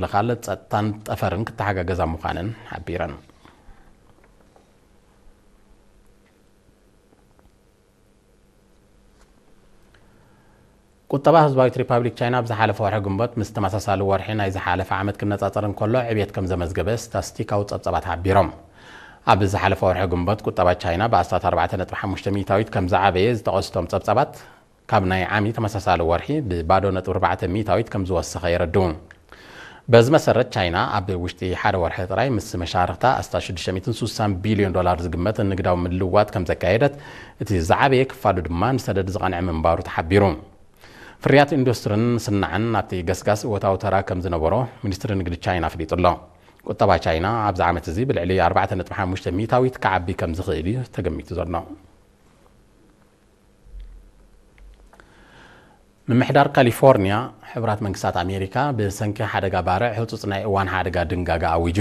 ምክልኻል፣ ጸጥታን ጠፈርን ክተሓጋገዛ ምዃነን ሓቢረን። ቁጠባ ህዝባዊት ሪፓብሊክ ቻይና ኣብ ዝሓለፈ ወርሒ ግንቦት ምስ ተመሳሳሊ ወርሒ ናይ ዝሓለፈ ዓመት ክነጻጸር እንከሎ ዕብየት ከም ዘመዝገበ ስታስቲካዊ ጸብጻባት ሓቢሮም። ኣብ ዝሓለፈ ወርሒ ግንቦት ቁጠባ ቻይና ብኣስታት ኣርባዕተ ነጥቢ ሓሙሽተ ሚእታዊት ከም ዝዓበየ ዝጠቐሱ እቶም ጸብጻባት፣ ካብ ናይ ዓሚ ተመሳሳሊ ወርሒ ብባዶ ነጥቢ ኣርባዕተ ሚእታዊት ከም ዝወሰኸ የረድኡ። በዚ መሰረት ቻይና ኣብ ውሽጢ ሓደ ወርሒ ጥራይ ምስ መሻርኽታ ኣስታት ሽዱሽተ ሚእትን ስሳን ቢልዮን ዶላር ዝግመት ንግዳዊ ምልውዋጥ ከም ዘካየደት፣ እቲ ዝዓበየ ክፋሉ ድማ ንሰደድ ዝቐንዐ ምንባሩ ተሓቢሩ። ፍርያት ኢንዱስትርን ስናዕን ኣብቲ ገስጋስ እወታዊ ተራ ከም ዝነበሮ ሚኒስትሪ ንግዲ ቻይና ኣፍሊጡ ኣሎ። ቁጠባ ቻይና ኣብዚ ዓመት እዚ ብልዕሊ ኣርባዕተ ነጥቢ ሓሙሽተ ሚእታዊት ክዓቢ ከም ዝኽእል እዩ ተገሚቱ ዘሎ። ምምሕዳር ካሊፎርኒያ፣ ሕቡራት መንግስታት ኣሜሪካ ብሰንኪ ሓደጋ ባርዕ ህጹጽ ናይ እዋን ሓደጋ ድንጋጋ ኣዊጁ።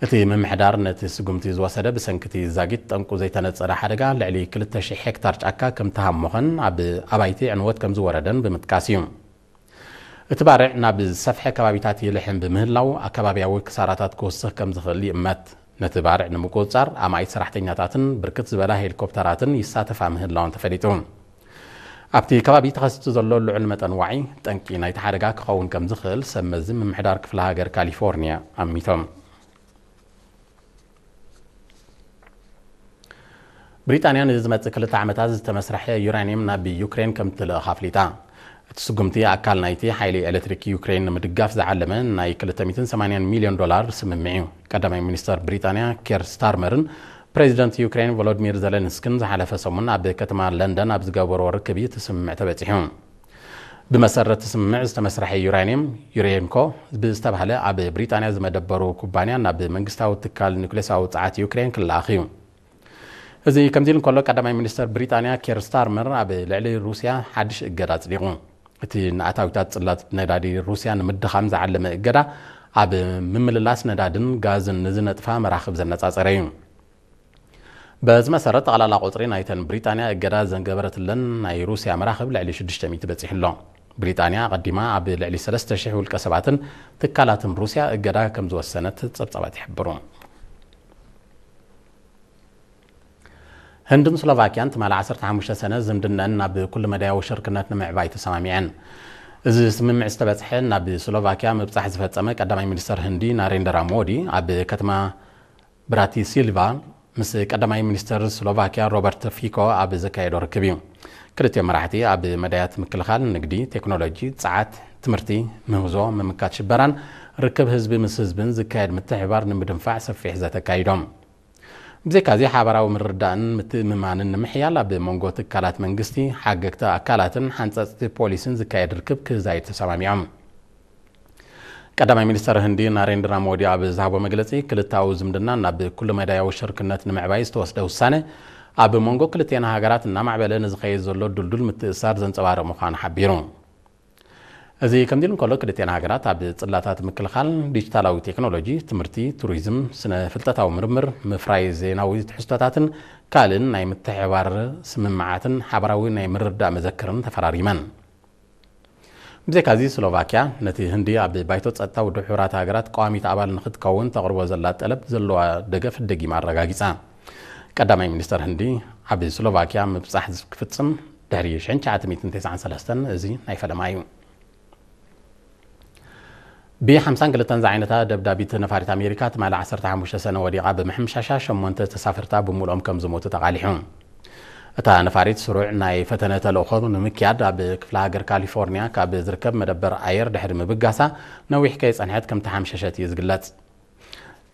እቲ ምምሕዳር ነቲ ስጉምቲ ዝወሰደ ብሰንኪ እቲ ዛጊት ጠንቁ ዘይተነጸረ ሓደጋ ልዕሊ ክልተ ሽሕ ሄክታር ጫካ ከም ተሃሞኸን ኣብ ኣባይቲ ዕንወት ከም ዝወረደን ብምጥቃስ እዩ። እቲ ባርዕ ናብ ዝሰፍሐ ከባቢታት ይልሕም ብምህላው ኣከባብያዊ ክሳራታት ክውስኽ ከም ዝኽእል ይእመት። ነቲ ባርዕ ንምቁጽጻር ኣማኢት ሰራሕተኛታትን ብርክት ዝበላ ሄሊኮፕተራትን ይሳተፋ ምህላወን ተፈሊጡ። ኣብቲ ከባቢ ተኸሲቱ ዘሎ ልዑል መጠን ዋዒ ጠንቂ ናይቲ ሓደጋ ክኸውን ከም ዝኽእል ሰብ መዚ ምምሕዳር ክፍለ ሃገር ካሊፎርኒያ ኣሚቶም። ብሪጣንያ ንዝመጽእ ክልተ ዓመታት ዝተመስርሐ ዩራኒየም ናብ ዩክሬን ከም ትልእኽ ኣፍሊጣ። እቲ ስጉምቲ ኣካል ናይቲ ሓይሊ ኤሌክትሪክ ዩክሬን ንምድጋፍ ዝዓለመ ናይ ክልተ ሚእትን ሰማንያን ሚልዮን ዶላር ስምምዕ እዩ። ቀዳማይ ሚኒስተር ብሪጣንያ ኬር ስታርመርን ፕሬዚደንት ዩክሬን ቮሎዲሚር ዘለንስክን ዝሓለፈ ሰሙን ኣብ ከተማ ለንደን ኣብ ዝገበርዎ ርክብ እዩ እቲ ስምምዕ ተበጺሑ። ብመሰረት እቲ ስምምዕ ዝተመስርሐ ዩራኒየም ዩሬንኮ ብዝተባህለ ኣብ ብሪጣንያ ዝመደበሩ ኩባንያ ናብ መንግስታዊ ትካል ኒውክሌሳዊ ጸዓት ዩክሬን ክለኣኽ እዩ። እዚ ከምዚ ኢሉ እንከሎ፣ ቀዳማይ ሚኒስተር ብሪጣንያ ኬር ስታርመር ኣብ ልዕሊ ሩስያ ሓድሽ እገዳ ኣጽዲቑ። እቲ ንኣታዊታት ጽላት ነዳዲ ሩስያ ንምድኻም ዝዓለመ እገዳ፣ ኣብ ምምልላስ ነዳድን ጋዝን ንዝነጥፋ መራኽብ ዘነጻጸረ እዩ። በዚ መሰረት፣ ጠቕላላ ቁጽሪ ናይተን ብሪጣንያ እገዳ ዘንገበረትለን ናይ ሩስያ መራኽብ ልዕሊ ሽዱሽተ ሚእቲ በጺሑ ኣሎ። ብሪጣንያ ኣቐዲማ ኣብ ልዕሊ ሰለስተ ሽሕ ውልቀ ሰባትን ትካላትን ሩስያ እገዳ ከም ዝወሰነት ጸብጻባት ይሕብሩ። ህንድን ስሎቫኪያን ትማሊ ዓሰርተ ሓሙሽተ ሰነ ዝምድነን ናብ ኩሉ መዳያዊ ሽርክነት ንምዕባይ ተሰማሚዐን። እዚ ስምምዕ ዝተበጽሐ ናብ ስሎቫኪያ ምብጻሕ ዝፈጸመ ቀዳማይ ሚኒስተር ህንዲ ናሬንድራ ሞዲ ኣብ ከተማ ብራቲሲልቫ ምስ ቀዳማይ ሚኒስተር ስሎቫኪያ ሮበርት ፊኮ ኣብ ዘካየዶ ርክብ እዩ። ክልቲኦም መራሕቲ ኣብ መዳያት ምክልኻል፣ ንግዲ፣ ቴክኖሎጂ፣ ጸዓት፣ ትምህርቲ፣ ምህዞ፣ ምምካት ሽበራን ርክብ ህዝቢ ምስ ህዝብን ዝካየድ ምትሕብባር ንምድንፋዕ ሰፊሕ ዘተ ኣካይዶም። ብዘይካዚ፣ ሓባራዊ ምርድዳእን ምትእምማንን ንምሕያል ኣብ መንጎ ትካላት መንግስቲ፣ ሓገግቲ ኣካላትን ሓንጸጽቲ ፖሊሲን ዝካየድ ርክብ ክዛይድ ተሰማሚዖም። ቀዳማይ ሚኒስተር ህንዲ ናሬንድራ ሞዲ ኣብ ዝሃቦ መግለጺ፣ ክልተኣዊ ዝምድና ናብ ኩሉ መዳያዊ ሽርክነት ንምዕባይ ዝተወስደ ውሳነ፣ ኣብ መንጎ ክልቴና ሃገራት እናማዕበለ ንዝኸይድ ዘሎ ድልዱል ምትእስሳር ዘንጸባርቕ ምዃኑ ሓቢሩ። እዚ ከምዚ ኢሉ እንከሎ፣ ክልቴና ሃገራት ኣብ ጽላታት ምክልኻል፣ ዲጂታላዊ ቴክኖሎጂ፣ ትምህርቲ፣ ቱሪዝም፣ ስነ ፍልጠታዊ ምርምር፣ ምፍራይ ዜናዊ ትሕዝቶታትን ካልእን ናይ ምትሕብባር ስምምዓትን ሓባራዊ ናይ ምርድዳእ መዘክርን ተፈራሪመን። ብዘይካዚ፣ ስሎቫኪያ ነቲ ህንዲ ኣብ ባይቶ ጸጥታ ውድብ ሕቡራት ሃገራት ቀዋሚት ኣባል ንኽትከውን ተቕርቦ ዘላ ጠለብ ዘለዋ ደገፍ ደጊማ ኣረጋጊጻ። ቀዳማይ ሚኒስተር ህንዲ ኣብ ስሎቫኪያ ምብጻሕ ክፍጽም ድሕሪ ሽሕን ትሽዓተ ሚእትን ተስዓን ሰለስተን እዚ ናይ ፈለማ እዩ። ብ ሓምሳን ክልተን ዝዓይነታ ደብዳቢት ነፋሪት ኣሜሪካ ትማሊ ዓሰርተ ሓሙሽተ ሰነ ወዲቓ ብምሕምሻሻ ሸሞንተ ተሳፈርታ ብምሉኦም ከም ዝሞቱ ተቓሊሑ። እታ ነፋሪት ስሩዕ ናይ ፈተነ ተልእኾ ንምክያድ ኣብ ክፍለ ሃገር ካሊፎርኒያ ካብ ዝርከብ መደበር ኣየር ድሕሪ ምብጋሳ ነዊሕ ከይጸንሐት ከም ተሓምሸሸት እዩ ዝግለጽ።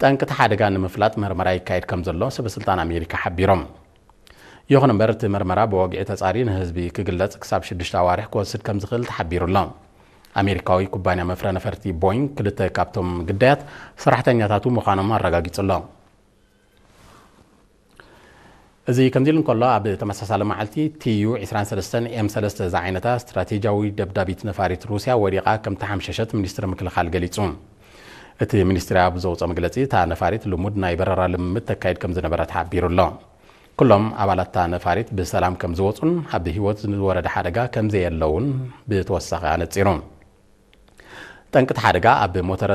ጠንቂ እቲ ሓደጋ ንምፍላጥ መርመራ ይካየድ ከም ዘሎ ሰበ ስልጣን ኣሜሪካ ሓቢሮም። ይኹን እምበር፣ እቲ መርመራ ብወግዒ ተጻርዩ ንህዝቢ ክግለጽ ክሳብ ሽዱሽተ ኣዋርሕ ክወስድ ከም ዝኽእል ተሓቢሩ ኣሎ። ኣሜሪካዊ ኩባንያ መፍረ ነፈርቲ ቦይንግ ክልተ ካብቶም ግዳያት ሰራሕተኛታቱ ምዃኖም ኣረጋጊጹ ኣሎ። እዚ ከምዚ ኢሉ እንከሎ፣ ኣብ ተመሳሳሊ መዓልቲ ቲዩ ዕስራን ሰለስተን ኤም ሰለስተ ዝዓይነታ ስትራቴጂያዊ ደብዳቢት ነፋሪት ሩስያ ወዲቓ ከም ተሓምሸሸት ሚኒስትሪ ምክልኻል ገሊጹ። እቲ ሚኒስትሪ ኣብ ዘውፅኦ መግለፂ፣ እታ ነፋሪት ልሙድ ናይ በረራ ልምምድ ተካይድ ከም ዝነበረ ተሓቢሩ ኣሎ። ኩሎም ኣባላት እታ ነፋሪት ብሰላም ከም ዝወፁን ኣብ ህይወት ዝወረደ ሓደጋ ከም ዘየለ እውን ብተወሳኺ ኣነፂሩ። ጠንቂ እቲ ሓደጋ ኣብ ሞተረ